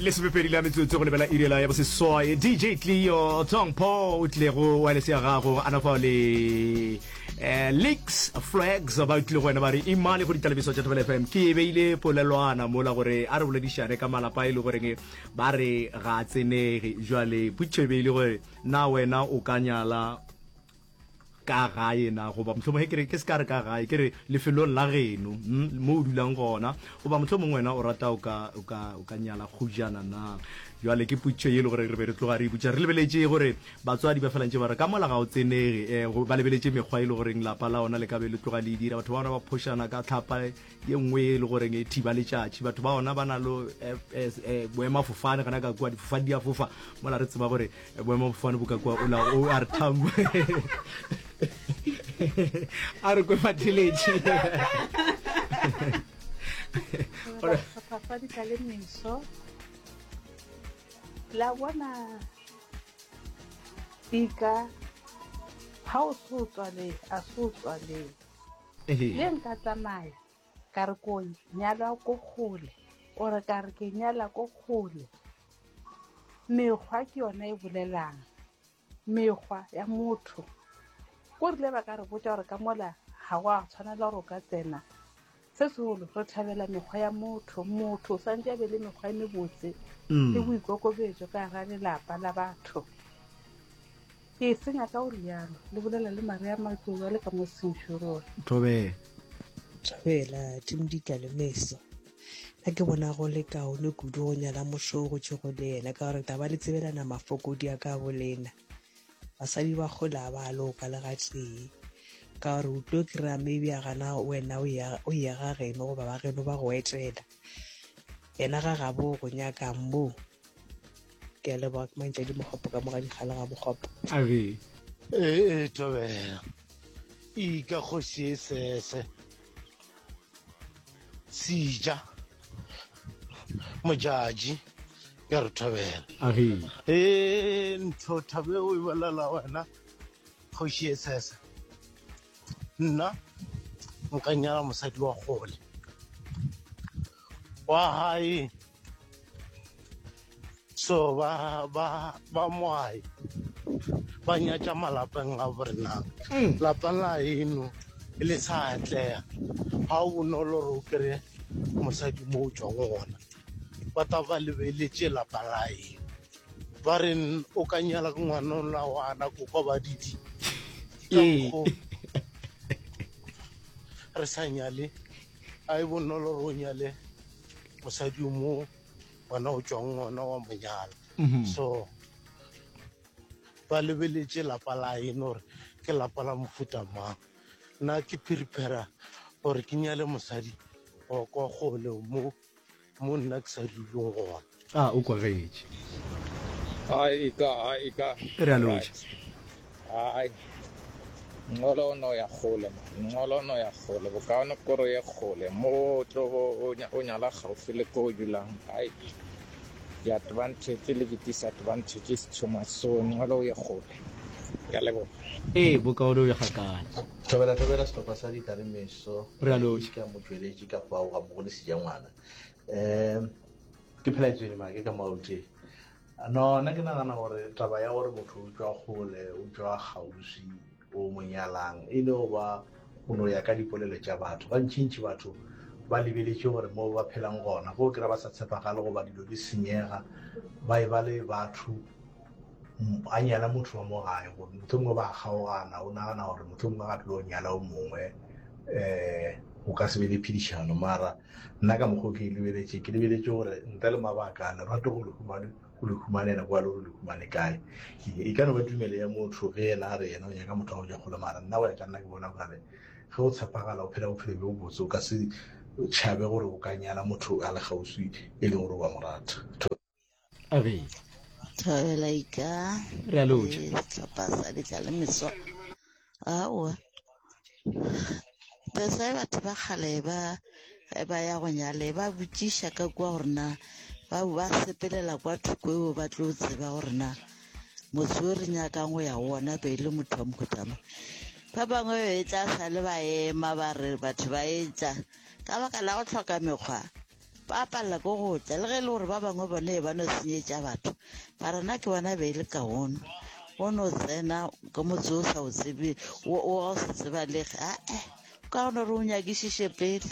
Lesomepedi la metsotso go lebela iri la ya boseswai. DJ Cleo Tong Po o tlile go wireless ya gago a na fao le eh, Leaks Flags ba tlile go wena ba re imale go ditalebiso tša Thobela FM. Ke e beile polelwana mola gore a re boledišane ka malapa e le goreng ba re ga a tsenege. Jwale potšišo e beile gore na wena o ka nyala ka gae na goba mohlomongwe ge ke re ke se ka re ka gae ke re lefelong la geno mm, mo o dulang gona goba mohlomongwe wena o rata o ka o ka o ka nyala kgojana na jwale ke potšišo ye e le gore re be re tloga re ipotša re lebeletše gore batswadi ba felantše ba re ka mola ga o tsenege um ba lebeletše mekgwa e le goreng lapa la ona le ka be le tloga le e dira batho ba ona ba phošana ka tlhapa ye nngwe e le goreng e thiba letšatši batho ba ona ba na le eh, eh, eh, boemafofane gona ka kua difofane di a fofa mola re tseba gore boemafofane bo ka kua ola o a re thambo a re kwe matheletše sehlopha sa le meso la bona ika ga o se o tswaleng a se o tswaleng le nka tsamaya ka re ko nyalwa ko kgole ore ka re ke nyala ko kgole Mekgwa ke yona e bolelang, mekgwa ya motho. Ko rile ba ka re botša gore ka mola ga go a tshwanela gore o ka tsena. Se segolo re thabela mekgwa ya motho. Motho o santše a be le mekgwa e mebotse le boikokobetšo ka gara lelapa la batho. Ke e senya ka go rialo, le bolela le Maria Matlou a le ka mo Centurion. Thobela. Thobela, Team Ditla le Meso. Nna ke bona go le kaone kudu go nyala motho o gotšego le yena ka gore taba le tsebelana mafokodi a ka bolena. Basadi ba kgole a ba loka le gatee ka gore o tlo kry-a maybe a gana wena o ya o ya ga geno goba ba geno ba go etela yena ga gabo o go nyakang mo. Ke a leboga ke Mantšadi Mokgopo ka mo ga Dikgale ga Mokgopo. Age. Ee, thobela. Ika kgoši e sese. Sija. Mojaji. Ke re thobela. Age. Ee, ntho thabe o e bolela wena kgoši e sese. Nna nka nyala mosadi wa kgole. Wa gae so ba ba ba moae ba nyatša malapeng a borena mm. lapa la eno le sa atlega ga o bonolo gore o kry-e mosadi mo o tswang gona ba ta ba lebeletše lapa la eno ba re o ka nyala ke ngwana ola wana ko kwa ba didi ka mokgo re sa nyale a e bonolo gore o nyale mosadi o mo gona o tšwang gona wa monyala mhm. so ba lebeletše lapa la eno gore ke lapa la mofuta mang nna ke phiriphera gore ke nyale mosadi wa kwa kgole mo mo nna ke sa duleng gona a o kwagetše Ai ka ai ka. Re a lotšha. Ai. Ngcono o no ya kgole man. Ngcono o no ya kgole. Bokaone koro ye kgole. Mo o tlo o nyala gaufi le ko o dulang. Ai. Di advantage le di disadvantage is too much. So ngcono o ye kgole. Ke a leboga. Ee, bokaone o ye kgakala. Thobela thobela sehlopha sa Ditla le Meso. Re a lotšha. Ke motšweletši ka fao ga mmogo le Sejangwana. Um ke phela tswele make ka maote. No, nna ke nagana gore taba ya gore motho o tšwa kgole, o tšwa kgauswi, o mo nyalang, e no ba go no ya ka dipolelo tša batho. Gantšintši batho ba lebeletše gore mo ba phelang gona, ge o kry-a ba sa tshepagale goba dilo di senyega, ba e ba le batho, a nyala motho wa mo gae, gore mohlomongwe ba kgaogana, o nagana gore mohlomongwe ga tlo nyala o mongwe, um go ka se be le phedišano. Mara Nna ka mokgwa o ke e lebeletše, ke lebeletše gore ntle le mabaka, lerato go le humane, o le humanela kwa le gore le humane kae. E ka no ba tumelo ya motho ge yena a re yena o nyaka motho wa go ja kgole, mara nna go ya ka nna ke bona gore ge o tshepagala o phela bophelo bjo botse o ka se tšhabe gore o ka nyala motho a le kgauswi e leng gore wa mo rata. Age. Thobela ika. Re a lotšha. Eh, sehlopha sa ditla le meso. Aowa. That's why batho ba kgale ba ge ba ya go nyale ba botšiša ka kua gore na ba ba sepelela kwa thoko eo ba tlo tseba gore na motse o re nyakang go ya go ona be e le motho wa mohuta mang. Ba bangwe be e tla sa le ba ema ba re batho ba etla ka baka la go hloka mekgwa. Ba palela ke go tla, le ge e le gore ba bangwe bone e ba no senyetša batho. Mara nna ke bona be e le kaone o no tsena ka motse o sa o tsebe, o o ga o sa tsebalege. Ae, kaone gore o nyakišiše pele.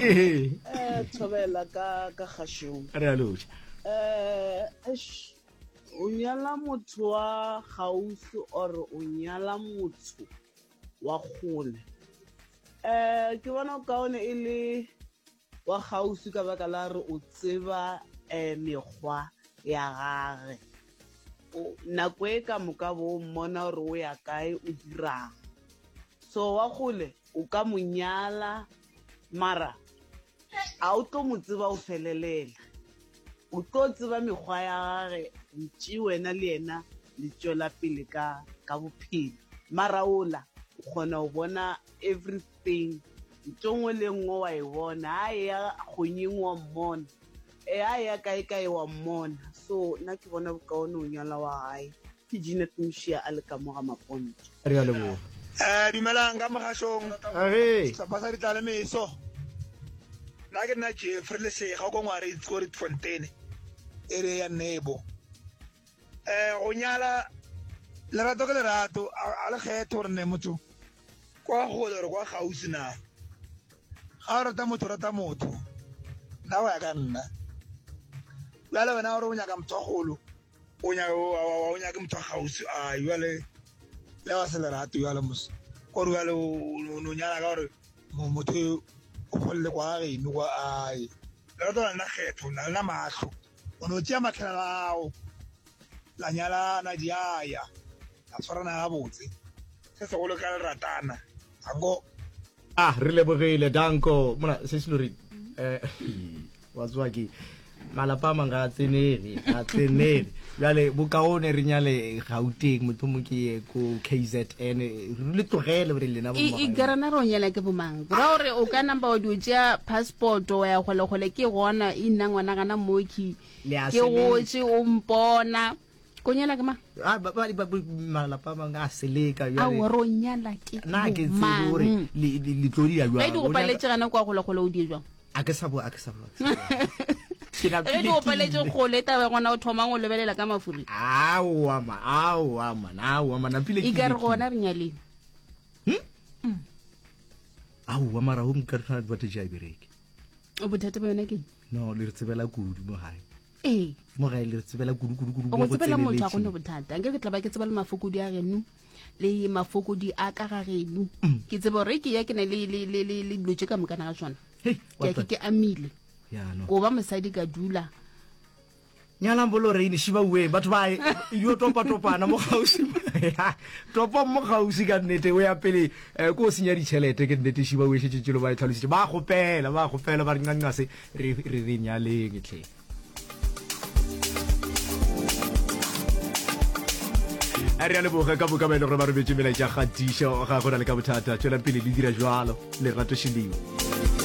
Ee. Eh, thobela ka ka kgašong. Re a lotšha. Eh, eish, o nyala motho wa kgauswi or o nyala motho wa kgole? Eh, ke bona kaone e le wa kgauswi ka baka la gore o tseba um mekgwa ya gage. O, nako e ka moka bo o mmona gore o ya kae, o dirang. So wa kgole o ka mo nyala mara a o tlo mo tseba o felelela. O tlo tseba mekgwa ya gage ntši wena le yena le tšwela pele ka, ka bophelo. Mara ola o kgona go bona everything. Thing. Ntho nngwe le nngwe wa e bona. Ha e ya kgonyeng wa mmona. E ha e ya kae kae wa mmona. So nna ke bona bokaone o nyala wa gae. Ke Jeanette Mošia a le ka mo ga Maponto. Re a leboga. Eh, dumelang ka mogašong. Age. Sehlopha sa Ditlalemeso. Nna ke nna Jeffrey Lesega ko Ngwaritsi ko Rietfontein, area ya Nebo. Eh, go nyala lerato ke lerato, a le kgethe gore ne motho kwa gole gore kwa gausi na. Ga o rata motho, rata motho. Nna go ya ka nna. Bjale wena gore o nyaka motho wa golo, o nyaka o nyake motho wa gausi, a jale le wa se lerato jale mos. Gore jale o no nyala ka gore motho o golle kwa geno kwa ai. Lerato la nna kgetho, la nna mahlo. O no tšea mahlala ao, la nyalana, di a ya, la tshwarana gabotse. Se segolo ka le ratana. Danko. Ah, re lebogile, Danko. Mona, se se lori, eh, wa tswa ke malapa a mang ga a tsenege, ga a tsenege. Bjale, bokaone re nyale Gauteng, mohlomong ke ye ko KZN, re le tlogele gore lena bo E, e ka rena re o nyala ke bomang? Go ra gore o ka namba wa dio tšea passport wa ya kgolekgole ke gona e nna ngwana gana moki Le a ke seleka. gotše o mpona ko nyala ke mang? Ah, ba- ba- ba- ba- malapa a mangwe a seleka bjale. Aowa re o nyala ke Nna ke tsebe gore bomang? le le- le tlo dira Ge bjang. di O go nyaka- paletše gana kwa kgolekgole o die jwang? A ke sa bo, a ke sa bo. a ke sa bo. Ke Ge di go paletše kgole taba gona o thomang o lebelela ka mafuri. Aowa ma, aowa man, aowa man, napile ke E ka re lekile. gona re nyaleng. Hmm? Aowa mara home ka re advantage ya e bereke. Bothata ba yona ke eng? No, le re tsebela kudu mo gae. Ee. Mo gae le re tsebela kudu kudu kudu Go mo go tsebela motho a gone tseneletšeng. bothata. Nke ke tla ba ke tseba le mafokodi a geno le mafokodi a ka ga geno. Mm. Ke tseba gore ke ya ke na le le le le le dilo tše ka mokana ga tsona. Hei, Ke what ya ke the- ke amile. Ya no. Ko ba mosadi ka dula. Nyalang bo Lorraine Shiba uwe batho ba yo topa topana mo gausi. Topa mo gausi ka nnete o ya pele eh, ko o senya ditšhelete ke nnete Shiba uwe šetše tšelo ba e tlhalositše ba gopela ba gopela ba re nqanqase re re re nyaleng tlhe. Re a leboga ka moka ba e le gore ba rometše melaetša kgatišo ga go na le ka bothata tšwelang pele le dira jwalo lerato šeleo.